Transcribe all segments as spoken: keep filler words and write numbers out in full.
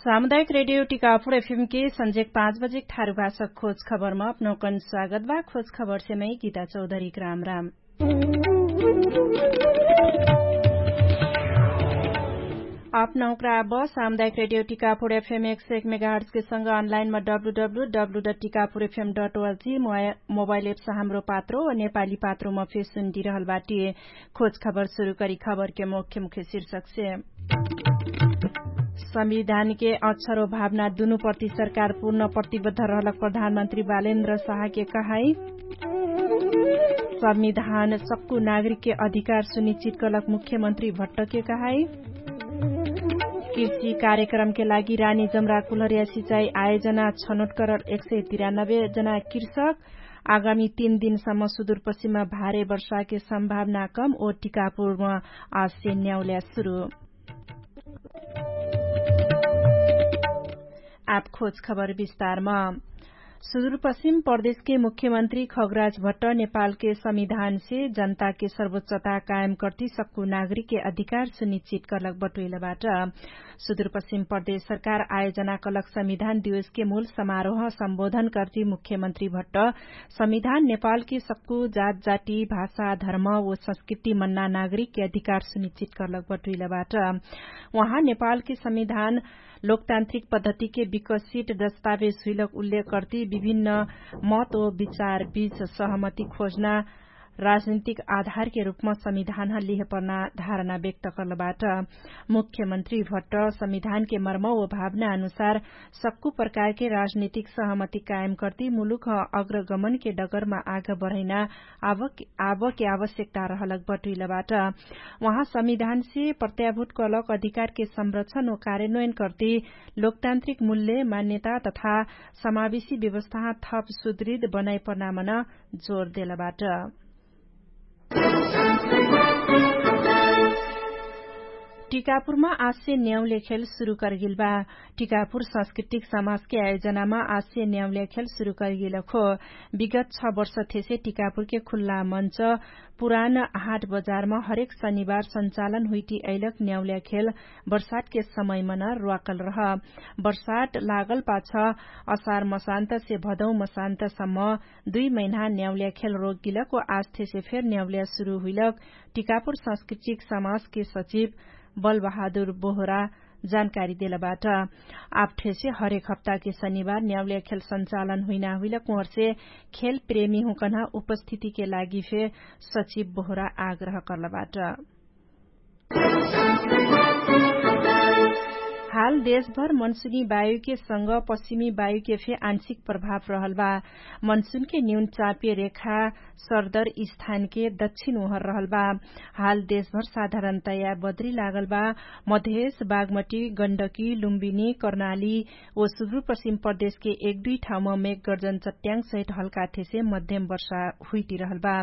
सामुदायिक रेडियो टिकापुर एफएम के संजेक पाँच बजेक ठारु भाषक खोज खबरमा अपनौकन स्वागत बा। खोज खबरसे मै गीता चौधरी ग्राम राम। अपनौकरा अब सामुदायिक रेडियो टिकापुर एफएम एक सय एक मेगाहर्ट्सके संग अनलाइनमा W W W dot Tikapur FM dot ORG mobile apps Hamro Patro वा नेपाली पात्रोमा फेसुन दिइरहल बाटी। खोज खबर सुरु करी खबरके मुख्य मुख्य शीर्षकसे। संविधानके अक्षरो भावना दुनु प्रति सरकार पूर्ण प्रतिबद्ध रहलक प्रधानमन्त्री बालेन्द्र साहके कहाई। संविधान सक्कु नागरिकके अधिकार सुनिश्चित करलक मुख्यमन्त्री भट्टके कहाई। कृषि कार्यक्रमके लागि रानी जमरा कुलहरिया सिचाई आयोजना छनोट करल एक सय तिरानब्बे जना कृषक। आगामी तीन दिनसम्म सुदूरपश्चिममा भारे वर्षाके सम्भावना कम ओ टिकापुरमा आश्य न्याउल्या सुरु। आप खोज खबर विस्तारमा। सुदूरपश्चिम प्रदेशके मुख्यमन्त्री खगराज भट्ट नेपालके संविधानसे जनताके सर्वोच्चता कायम कर्ति सक्कु नागरिकके अधिकार सुनिश्चित करलक बटुइलबाट। सुदूरपश्चिम प्रदेश सरकार आयोजना कलक संविधान दिवसके मूल समारोह सम्बोधन कर्ति मुख्यमन्त्री भट्ट संविधान नेपालके सक्कु जात जाति भाषा धर्म ओ संस्कृति मन्ना नागरिकके अधिकार सुनिश्चित करलक बटुइलबाट। उहाँ नेपालके संविधान लोकतान्त्रिक पद्धतिके विकसित दस्तावेज हुइलक उल्लेख कर्ति विभिन्न मत ओ विचार बीच सहमति खोजना राजनीतिक आधारके रूपमा संविधान लिहे पर्ना धारणा व्यक्त करलबाट। मुख्यमन्त्री भट्ट संविधानके मर्म ओ भावना अनुसार सक्कु प्रकारके राजनीतिक सहमति कायम कर्ति मुलुक अग्रगमनके डगरमा आग बढैना आवक आवके आवश्यकता रहलक बटुइलबाट। उहाँ संविधानसे प्रत्याभूत कलक अधिकारके संरक्षण ओ कार्यन्वयन कर्ति लोकतान्त्रिक मूल्य मान्यता तथा समावेशी व्यवस्था थप सुदृढ बनाइ पर्नामन जोर देलबाट। टिकापुरमा आश्य न्याउले खेल सुरु करगेल बा। टिकापुर सांस्कृतिक समाजके आयोजनामा आश्य न्याउले खेल सुरु करगेल खो। विगत छ वर्ष थेसे टिकापुरके खुल्ला मञ्च पुरान हाट बजारमा हरेक शनिबार सञ्चालन हुइटी अइलक न्याउल्या खेल बर्सातके समयमन र्वाकल रह। बर्सात लागल पाछ असार मसान्तसे भदौ मसान्तसम्म दुइ महिना न्याउल्या खेल रोक गिलक ओ आस्थेसे फेर न्याउल्या सुरु हुइलक टिकापुर सांस्कृतिक समाजके सचिव बलबहादुर बोहरा जानकारी देलबाट। आप्ठेसे हरेक हप्ताके शनिबार न्याउल्या खेल सञ्चालन हुइना हुइलक उहरसे खेल प्रेमी हुँकन्हा उपस्थितिके लागि फे सचिव बोहरा आग्रह कर्लबाट। हाल देशभर मनसुनी वायुके संग पश्चिमी वायुके फे आंशिक प्रभाव रहल बा। मनसुनके न्यून चापे रेखा सरदर स्थानके दक्षिण ओहर रहल बा। हाल देशभर साधारणतया बद्री लागल बा। मधेश बागमटी गण्डकी लुम्बिनी कर्णाली ओ सुदूरपश्चिम प्रदेशके एक दुइ ठाउँमा मेघगर्जन चट्याङ सहित हल्काथेसे मध्यम वर्षा हुइटिरहल बा।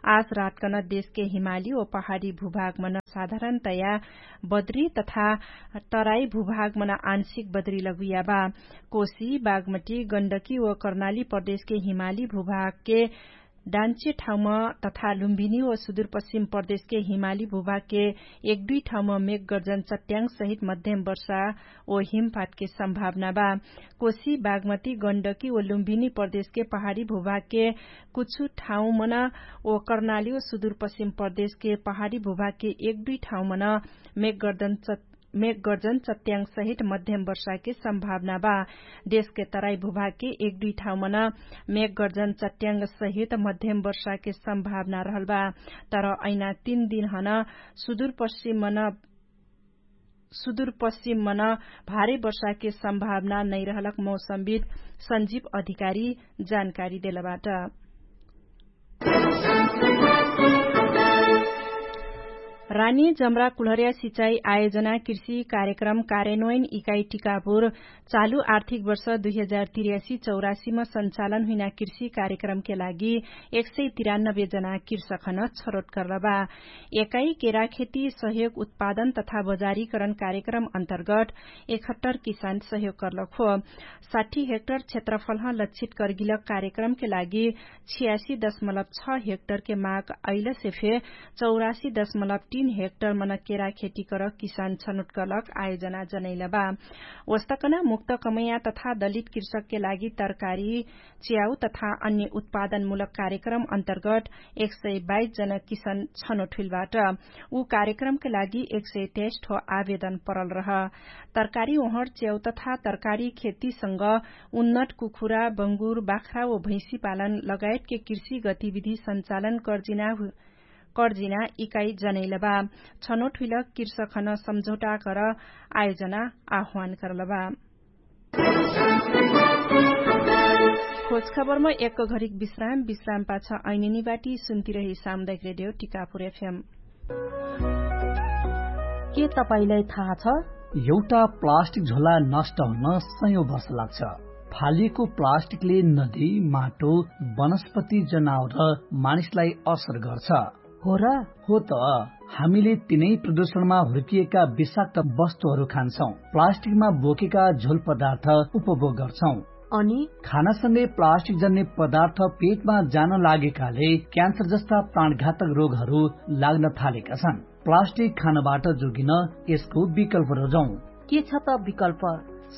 आज रातकन देशके हिमाली ओ पहाडी भूभागमन साधारणतया बद्री तथा तराई भूभागमन आंशिक बद्री लगुइया बा। कोशी बागमटी गण्डकी ओ कर्णाली प्रदेशके हिमाली भूभागके डान्चे ठाउँमा तथा लुम्भिनी ओ सुदूरपश्चिम प्रदेशके हिमाली भूभागके एक दुइ ठाउँमा मेघगर्जन चट्याङ सहित मध्यम वर्षा ओ हिमपातके सम्भावना बा। कोशी बागमती गण्डकी ओ लुम्भिनी प्रदेशके पहाडी भूभागके कुछु ठाउँमन ओ कर्णाली ओ सुदूरपश्चिम प्रदेशके पहाडी भूभागके एक दुइ ठाउँमन मेघगर्जन चट्याङ सहित मध्यम वर्षाके सम्भावना बा। देशके तराई भूभागके एक दुइ ठाउँमन मेघगर्जन चट्याङ सहित मध्यम वर्षाके सम्भावना रहल बा। तर ऐना तीन दिनहन सुदूरपश्चिममन सुदूरपश्चिममन भारी वर्षाके सम्भावना नैरहलक मौसमविद संजीव अधिकारी जानकारी देलबाट। रानी जमरा कुल्हर्या सिचाई आयोजना कृषि कार्यक्रम कार्यान्वयन इकाई टिकापुर चालु आर्थिक वर्ष दुई हजार तिर्यासी चौरासीमा सञ्चालन हुइना कृषि कार्यक्रमके लागि एक सय तिरानब्बे जना कृषकहन छरोट कर्लबा। एकाई केराखेती सहयोग उत्पादन तथा बजारीकरण कार्यक्रम अन्तर्गत एकहत्तर किसान सहयोग कर्लक हो। साठी हेक्टर क्षेत्रफलह लक्षित कर्गिलक कार्यक्रमके लागि छियासी दशमलब छ हेक्टरके माग अइलसे फे चौरासी दशमलब तीन हेक्टर मन केरा खेती कर किसान छनोट करलक आयोजना जनैलबा। वस्तकना मुक्त कमैया तथा दलित कृषकके लागि तरकारी च्याउ तथा अन्य उत्पादनमूलक कार्यक्रम अन्तर्गत एक सय बाइस जन किसान छनोट हुइलबाट। उ कार्यक्रमके लागि एक सय तेइस ठो आवेदन परल रह। तरकारी ओहर च्याउ तथा तरकारी खेतीसँग उन्नत कुखुरा बङ्गुर बाख्रा व भैँसी पालन लगायतके कृषि गतिविधि सञ्चालन कर्जिना कर्जिना इकाइ जनैलबा। छनोट हुइल कृषकहन सम्झौटा कर आयोजना आह्वान करलबा। खोजखबरमा एक घरिक विश्राम विश्राम पाछ ऐनेनी बाटी सुन्तिरही सामुदायिक रेडियो टिकापुर एफएम। के तपाईंलाई थाहा छ? एउटा प्लास्टिक झोला नष्ट हुन सयौं वर्ष लाग्छ। फालिएको प्लास्टिकले नदी, माटो, वनस्पति, जनावर र मानिसलाई असर गर्छ। हो र? हो त। हामीले तिनै प्रदूषणमा हुर्किएका विषाक्त वस्तुहरू खान्छौं, प्लास्टिकमा बोकेका झोल पदार्थ उपभोग गर्छौं। अनि खानासँगै प्लास्टिक जन्ने पदार्थ पेटमा जान लागेकाले क्यान्सर जस्ता प्राणघातक रोगहरू लाग्न थालेका छन्। प्लास्टिक खानबाट जोगिन यसको विकल्प रोजौं। के छ त विकल्प?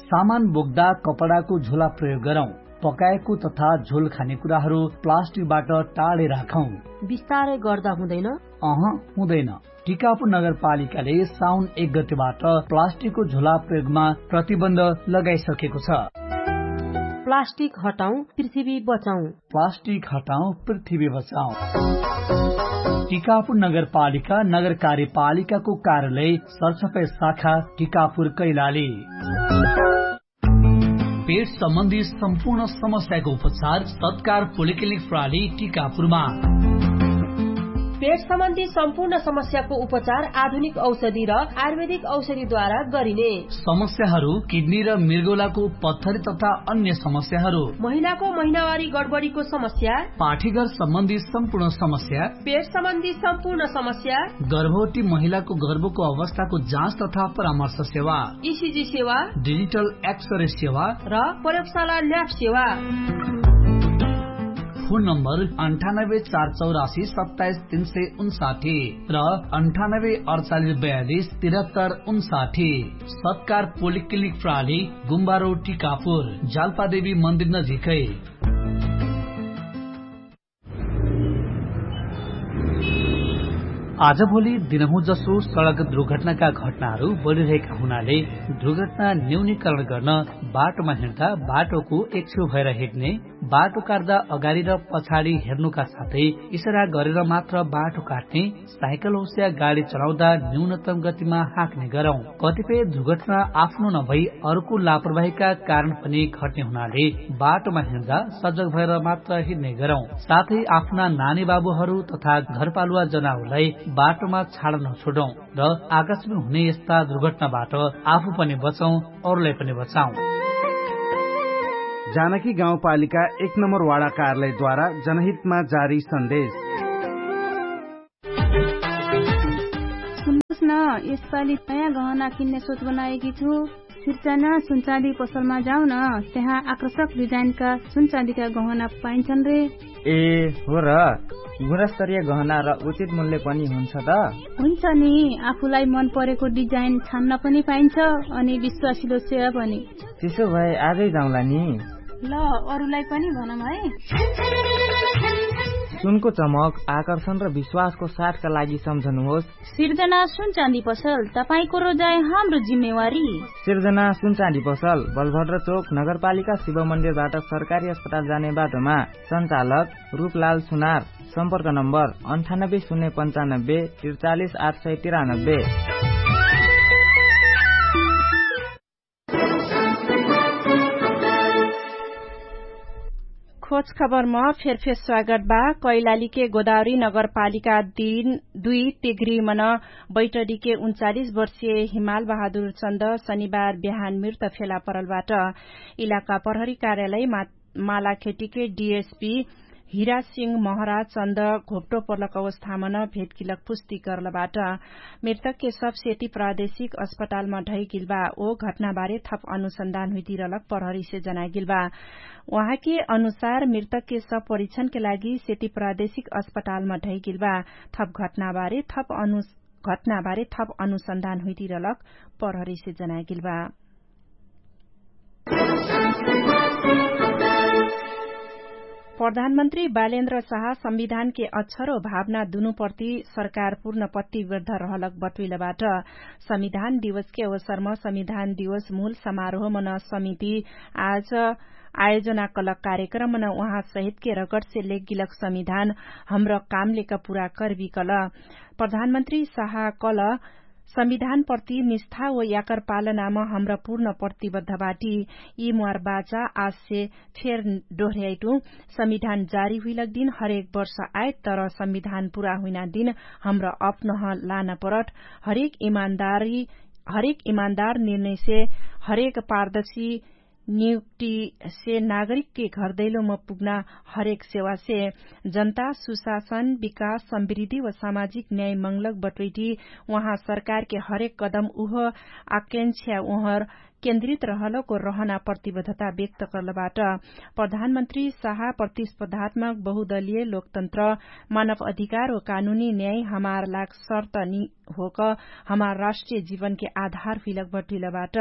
सामान बोक्दा कपडाको झोला प्रयोग गरौं। पकाएको तथा झोल खाने कुराहरू प्लास्टिकबाट टाढे राखौं। बिस्तारै गर्दा हुँदैन? अह, हुँदैन। टिकापुर नगरपालिकाले साउन एक गतेबाट प्लास्टिकको झोला प्रयोगमा प्रतिबन्ध लगाइसकेको छ। प्लास्टिक हटाउँ, पृथ्वी बचाउँ। प्लास्टिक हटाउँ, पृथ्वी बचाउँ। टिकापुर नगरपालिका नगर कार्यपालिकाको कार्यालय सरसफाइ शाखा टिकापुर कैलाली। पेट सम्बन्धी सम्पूर्ण समस्याको उपचार सत्कार पोलिक्लिनिक प्रणाली टिकापुरमा। पेट सम्बन्धी सम्पूर्ण समस्याको उपचार आधुनिक औषधि र आयुर्वेदिक औषधिद्वारा गरिने। समस्याहरू किडनी र मृगौलाको पत्थरी तथा अन्य समस्याहरू। महिलाको महिनावारी गडबडीको समस्या। पाठीघर सम्बन्धी सम्पूर्ण समस्या। पेट सम्बन्धी सम्पूर्ण समस्या। गर्भवती महिलाको गर्भको अवस्थाको जाँच तथा परामर्श सेवा। इसिजी सेवा। डिजिटल एक्सरे सेवा। र प्रयोगशाला ल्याब सेवा। फोन नम्बर अन्ठानब्बे चार चौरासी सत्ताइस तीन सय उन्साठी र अन्ठानब्बे अडचालिस बयालिस तिरहत्तर उन्साठी। सत्कार पोलिक्लिनिक प्रणाली गुम्बारो टिकापुर जालपादेवी मन्दिर नजिकै। आजभोलि दिनहुँ जसो सडक दुर्घटनाका घटनाहरू बढिरहेका हुनाले दुर्घटना न्यूनीकरण गर्न बाटोमा हिँड्दा बाटोको एकछेउ भएर हिँड्ने, बाटो काट्दा अगाडि र पछाडि हेर्नुका साथै इसारा गरेर मात्र बाटो काट्ने, साइकल होस् या गाडी चलाउँदा न्यूनतम गतिमा हाँक्ने गरौँ। कतिपय दुर्घटना आफ्नो नभई अरूको लापरवाहीका कारण पनि घट्ने हुनाले बाटोमा हिँड्दा सजग भएर मात्र हिँड्ने गरौँ। साथै आफ्ना नानी बाबुहरू तथा घरपालुवा जनावरलाई बाटोमा छाड नछोडौँ र आकस्मिक हुने यस्ता दुर्घटनाबाट आफू पनि बचौँ, अरूलाई पनि बचाउँ। जानकी गाउँपालिका एक नम्बर वाडा कार्यालयद्वारा जनहितमा जारी सन्देश। सुन्नुस् न, यसपालि नयाँ गहना किन्ने सोच बनाएकी छु। सिर्जना सुनचाँदी पसलमा जाउन, त्यहाँ आकर्षक डिजाइनका सुनचाँदीका गहना पाइन्छन् रे। ए हो र, गुणस्तरीय गहना र उचित मूल्य पनि हुन्छ त? हुन्छ नि, आफूलाई मन परेको डिजाइन छान्न पनि पाइन्छ, अनि विश्वासिलो सेवा पनि। त्यसो भए आजै जाउँला नि। ल, अरूलाई पनि भनौँ है। सुनको चमक, आकर्षण र विश्वासको साथका लागि सम्झनुहोस्। सिर्जना सुनचाँदी पसल, तपाईंको रोजाइ हाम्रो जिम्मेवारी। सिर्जना सुनचाँदी पसल, बलभद्र चोक, नगरपालिका शिव मन्दिरबाट सरकारी अस्पताल जाने बाटोमा। सञ्चालक रूपलाल सुनार। सम्पर्क नम्बर अन्ठानब्बे शून्य पन्चानब्बे त्रिचालिस आठ सय तिरानब्बे। खोज खबरमा फेरफेर स्वागत बा। कैलालीके गोदावरी नगरपालिका दुई तिग्री मन बैटरीके उन्चालिस वर्षीय हिमाल बहादुर चन्द शनिबार बिहान मृत फेला परलबाट। इलाका प्रहरी कार्यालय मालाखेटीके डिएसपी हिरासिंह महरा चन्द घोप्टो पर्लक अवस्थामन भेटकिलक पुष्टि गर्लबाट। मृतकके सब सेती प्रादेशिक अस्पतालमा ढैगिलबा ओ घटनाबारे थप अनुसन्धान हुइतिरलक प्रहरीसे जनागिलबा। उहाँके अनुसार मृतकके सब परिक्षणके लागि सेती प्रादेशिक अस्पतालमा ढैगिलबा। थप घटनाबारे थप अनु घटनाबारे थप अनुसन्धान हुइटिरलक प्रहरीसे जनाएगेल बा। प्रधानमन्त्री बालेन्द्र साहा संविधानके अक्षर ओ भावना दुनुप्रति सरकार पूर्ण प्रतिबद्ध रहलक बटुइलबाट। संविधान दिवसके अवसरम संविधान दिवस मूल समारोहमन समिति आज आयोजना कलक कार्यक्रमन उहाँ सहितके रगटसे लेगगिलक संविधान हमर कामलेक पुरा करबिकल। प्रधानमन्त्री साहा कल संविधानप्रति निष्ठा व याकर पालनाम हमरा पूर्ण प्रतिबद्ध बाटी। यि म्वार बाचा आजसे फेर डोहर्याइटु। संविधान जारी हुइलक दिन हरेक वर्ष आइत तर संविधान पुरा हुइना दिन हमरा अप्नह लान परट। हरेक इमान्दारी हरेक इमान्दार निर्णयसे हरेक पारदर्शी नियुक्तिसे नागरिकके घरदैलोम पुग्ना हरेक सेवासे जनता सुशासन विकास समृद्धि व सामाजिक न्याय मंगलक बटोइटी। उहाँ सरकारके हरेक कदम उह आकांक्षा उहर केन्द्रित रहलको रहना प्रतिबद्धता व्यक्त करलबाट। प्रधानमन्त्री साहा प्रतिस्पर्धात्मक बहुदलीय लोकतन्त्र मानव अधिकार व कानुनी न्याय हमार लाग शर्त नि होक हमार राष्ट्रिय जीवनके आधार हुइलक बटुइलबाट।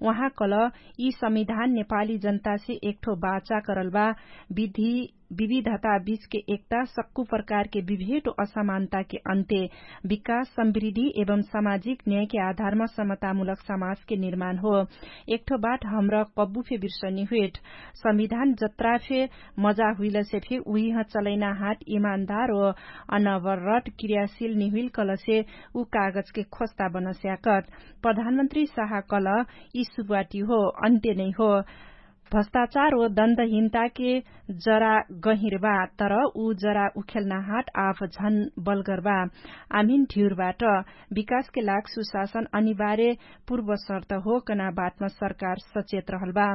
उहाँ कल यि संविधान नेपाली जनतासे एकठो बाचा करलबा विधि विविधता बीचके एकता सक्कु प्रकारके विभेट असमानताके अन्त्य विकास समृद्धि एवं सामाजिक न्यायके आधारमा समतामूलक समाजके निर्माण हो। एकठो बाट हमरा कब्बु फे बिर्सनी हुइट संविधान जत्रा फे मजा हुइलसे फे उहिह चलैना हाट इमान्दार ओ अनवरट क्रियाशील निहुइल कलसे उ कागजके खोस्ता बनस्याकट। प्रधानमन्त्री साहा कल यि सुरुवाती हो अन्त्य नै हो। भ्रष्टाचार ओ दण्डहिन्ताके जरा गहिर बा तर उ जरा उखेल्ना हाट आफ झन बलगर बा। आमिन ढिउरबाट विकासके लाग सुशासन अनिवार्य पूर्वशर्त हो कना बाटमा सरकार सचेत रहल बा।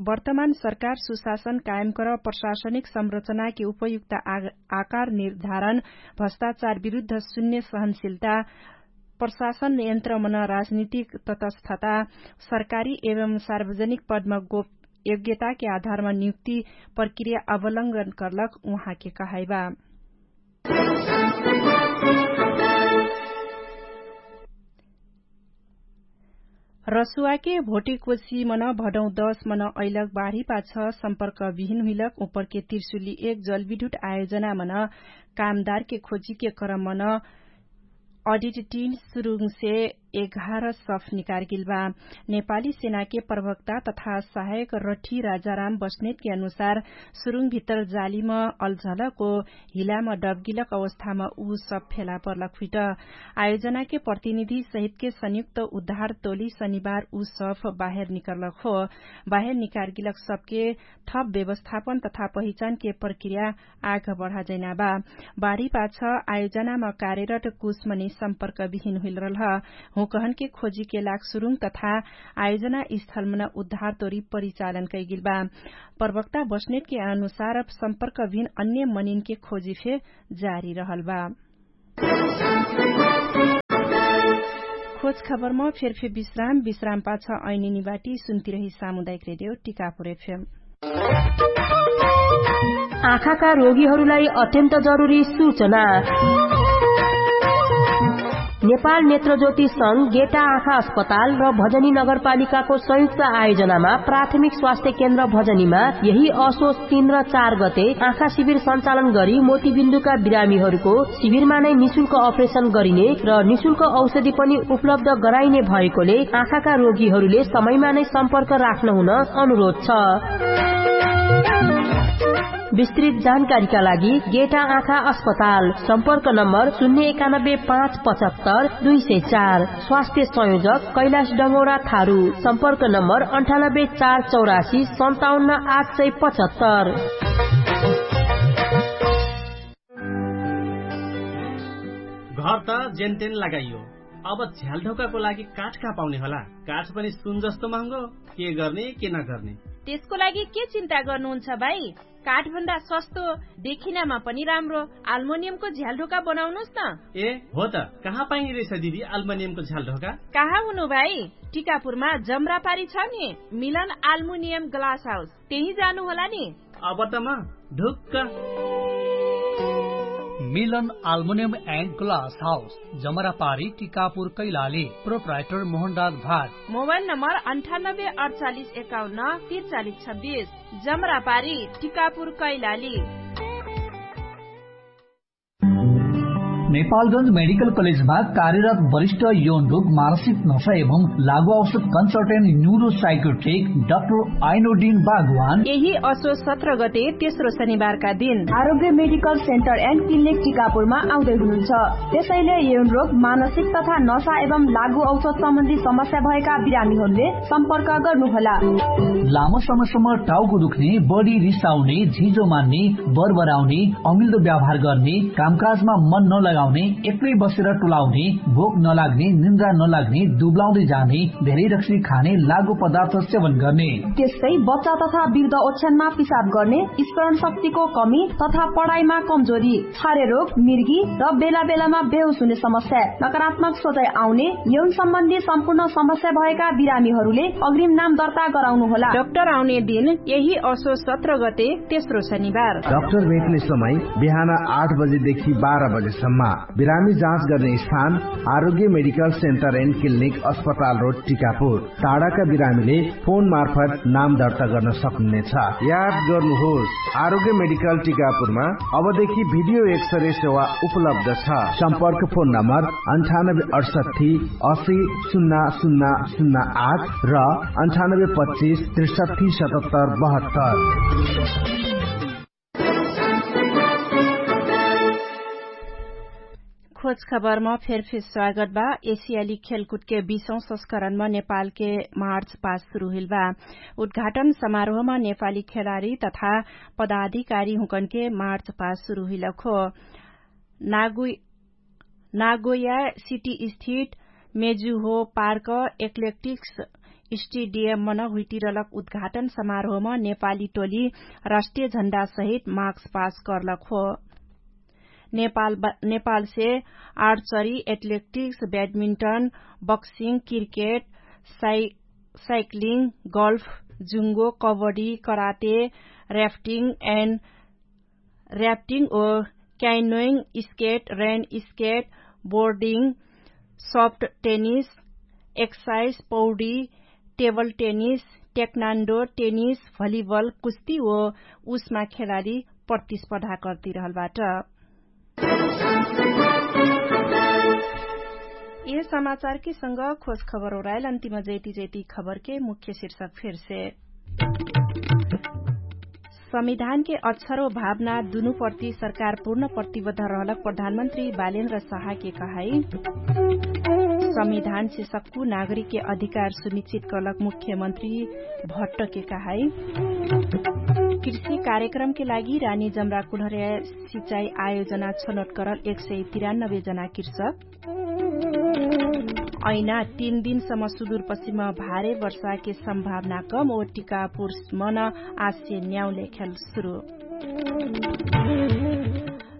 वर्तमान सरकार सुशासन कायम कर प्रशासनिक संरचनाके उपयुक्त आकार निर्धारण भ्रष्टाचार विरुद्ध शून्य सहनशिलता प्रशासन यन्त्रमन राजनीतिक तटस्थता सरकारी एवं सार्वजनिक पदमा गोप योग्यताके आधारमा नियुक्ति प्रक्रिया अवलम्बन करलक उहाँके कहाइबा। रसुवाके भोटिकोसी मन भडौँ दस मन अइलक बाढी पाछ सम्पर्क विहिन हुइलक उपरके तिर्सुली एक जलविद्युत आयोजना मन कामदारके खोजीके क्रम मन अडिट टिन सुरुङसे एघार सफ निकारगेल बा। नेपाली सेनाके प्रवक्ता तथा सहायक रठी राजाराम बस्नेतके अनुसार सुरुङ भित्तर जालीम अलझलक ओ हिलाम डबगिलक अवस्थाम उ सफ फेला पर्लक हुइट। आयोजनाके प्रतिनिधि सहितके संयुक्त उद्धार तोली शनिबार उ सफ बाहेर निकर्लक हो। बाहेर निकारगिलक सफके थप व्यवस्थापन तथा पहिचानके प्रक्रिया आग बढाजैना बा। बाढी पाछ आयोजनामा कार्यरत कुसमनी सम्पर्क विहिन हुइलरलह हुकहनके खोजीके लाग सुरुङ तथा आयोजना स्थलमन उद्धार तोरी परिचालन कैगिल बा। प्रवक्ता बस्नेतके अनुसार सम्पर्क विहिन अन्य मनिनके खोजी फे जारी रहल बा। खोज खबरमा फेरफे विश्राम विश्राम पाछ ऐनिनी बाटी सुन्तिरही सामुदायिक रेडियो टिकापुर एफएम। आँखाका रोगीहरूलाई अत्यन्त जरुरी सूचना। नेपाल नेत्रज्योति संघ गेटा आँखा अस्पताल र भजनी नगरपालिकाको संयुक्त आयोजनामा प्राथमिक स्वास्थ्य केन्द्र भजनीमा यही असोच तीन र चार गते आँखा शिविर सञ्चालन गरी मोतीबिन्दुका बिरामीहरूको शिविरमा नै निशुल्क अपरेसन गरिने र निशुल्क औषधि पनि उपलब्ध गराइने भएकोले आँखाका रोगीहरूले समयमा नै सम्पर्क राख्न हुन अनुरोध छ। विस्तृत जानकारीका लागि गेटा आँखा अस्पताल, सम्पर्क नम्बर शून्य एकानब्बे पाँच पचहत्तर दुई सय चार। स्वास्थ्य संयोजक कैलाश डङ्गौरा थारू। सम्पर्क नम्बर अन्ठानब्बे चार चौरासी सन्ताउन्न आठ सय पचहत्तर। घर त जेनतेन लगाइयो, अब झ्यालढोकाको लागि काठ कहाँ पाउने होला? काठ पनि सुन जस्तो महँगो। के गर्ने के नगर्ने? त्यसको लागि के चिन्ता गर्नुहुन्छ भाइ? काठभन्दा सस्तो, देखिनामा पनि राम्रो आल्मोनियमको झ्यालढोका बनाउनुस् न। ए हो त, कहाँ पाइने रहेछ दिदी आल्मोनियमको झ्यालढोका? कहाँ हुनु भाइ? टिकापुरमा जमरापारी छ नि, मिलन आल्मुनियम ग्लास हाउस, त्यही जानु होला नि। अब त म ढुक्क। मिलन आल्मुनियम एन्ड ग्लास हाउस, जमरापारी टिकापुर कैलाली। प्रोपराइटर मोहनराज भाट। मोबाइल नम्बर अन्ठानब्बे अठचालिस एकाउन्न तिरचालिस छब्बिस, जमरापारी टिकापुर कैलाली। नेपालगंज मेडिकल कलेजमा कार्यरत वरिष्ठ यौन रोग मानसिक नशा एवं लागु औषध कन्सल्टेन्ट न्युरो साइकोट्रिक डाक्टर आइनोडिन बागवान यही असो सत्र गते तेस्रो शनिबारका दिन आरोग्य मेडिकल सेन्टर एन्ड क्लिनिक टिकापुरमा आउँदै हुनुहुन्छ। त्यसैले यौन रोग मानसिक तथा नशा एवं लागु औषध सम्बन्धी समस्या भएका बिरामीहरूले सम्पर्क गर्नुहोला। लामो समयसम्म टाउको दुख्ने, बढी रिसाउने, झिजो मान्ने, बरबराउने, अमिल्दो व्यवहार गर्ने, कामकाजमा मन नलगाउने, एक्लै बसेर टोलाउने, भोक नलाग्ने, निन्द्रा नलाग्ने, दुब्लाउँदै जाने, धेरै रक्सी खाने, लागु पदार्थ सेवन गर्ने। त्यस्तै बच्चा तथा वृद्ध ओछ्यानमा पिसाब गर्ने, स्मरण शक्तिको कमी तथा पढाइमा कमजोरी, छारे रोग, मिर्गी र बेला बेलामा बेहोस हुने समस्या, नकारात्मक सोचाइ आउने, यौन सम्बन्धी सम्पूर्ण समस्या भएका बिरामीहरूले अग्रिम नाम दर्ता गराउनु होला। डाक्टर आउने दिन यही असो सत्र गते तेस्रो शनिबार। डाक्टर भेट्ने समय बिहान आठ बजेदेखि बाह्र बजेसम्म। बिरामी जाँच गर्ने स्थान आरोग्य मेडिकल सेन्टर एन्ड क्लिनिक अस्पताल रोड टिकापुर। टाढाका बिरामीले फोन मार्फत नाम दर्ता गर्न सक्नुहुनेछ। याद गर्नुहोस, आरोग्य मेडिकल टिकापुरमा अबदेखि भिडियो एक्सरे सेवा उपलब्ध छ। सम्पर्क फोन नम्बर अन्ठानब्बे अठसट्ठी असी सुन्ना सुन्ना सुन्ना आठ र अन्ठानब्बे पच्चिस त्रिसट्ठी सतहत्तर बहत्तर। खोज खबरमा फेरफेर स्वागत बा। एसियाली खेलकुदके बीसौं संस्करणमा नेपालके मार्च पास सुरु हुइल बा। उद्घाटन समारोहमा नेपाली खेलाडी तथा पदाधिकारी हुँकनके मार्च पास सुरु हुइलक हो। नागोया सिटी स्थित मेजुहो पार्क एक्लेक्टिक्स स्टेडियम मन हुइटिरलक उद्घाटन समारोहमा नेपाली टोली राष्ट्रिय झण्डा सहित मार्च पास कर्लक हो। नेपालसे archery, athletics, badminton, boxing, cricket, cycling, golf, जुङ्गो, kabaddi, karate, rafting and rafting ओ क्याइनोइङ, स्केट, रेन स्केट, बोर्डिङ, सफ्ट टेनिस, एक्साइस, पौडी, table tennis, taekwondo, tennis, volleyball, कुस्ती ओ उसमा खेलाडी प्रतिस्पर्धा कर्तिरहलबाट। यह समाचारकी संग खोज खबर ओराइल अन्तिम जैती जैती खबरके मुख्य शीर्षक फेरसे। संविधानके अक्षर ओ भावना दुनु प्रति सरकार पूर्ण प्रतिबद्ध रहलक प्रधानमन्त्री बालेन्द्र साहाके कहाई। संविधानसे सक्कु नागरिकके अधिकार सुनिश्चित करलक मुख्यमन्त्री भट्टके कहाई। कृषि कार्यक्रमके लागि रानी जमराकुलहरे सिचाइ आयोजना छनोट करल एक सय तिरानब्बे जना कृषक। ऐना तीन दिनसम्म सुदुरपश्चिम भारे वर्षाके सम्भावना कम ओ टिकापुरसम्म न आश्य न्याउ लेख्याल सुरु।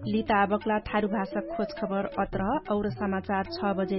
लिताबक्ला थारु भाषा खोज खबर अत्र और समाचार छ बजे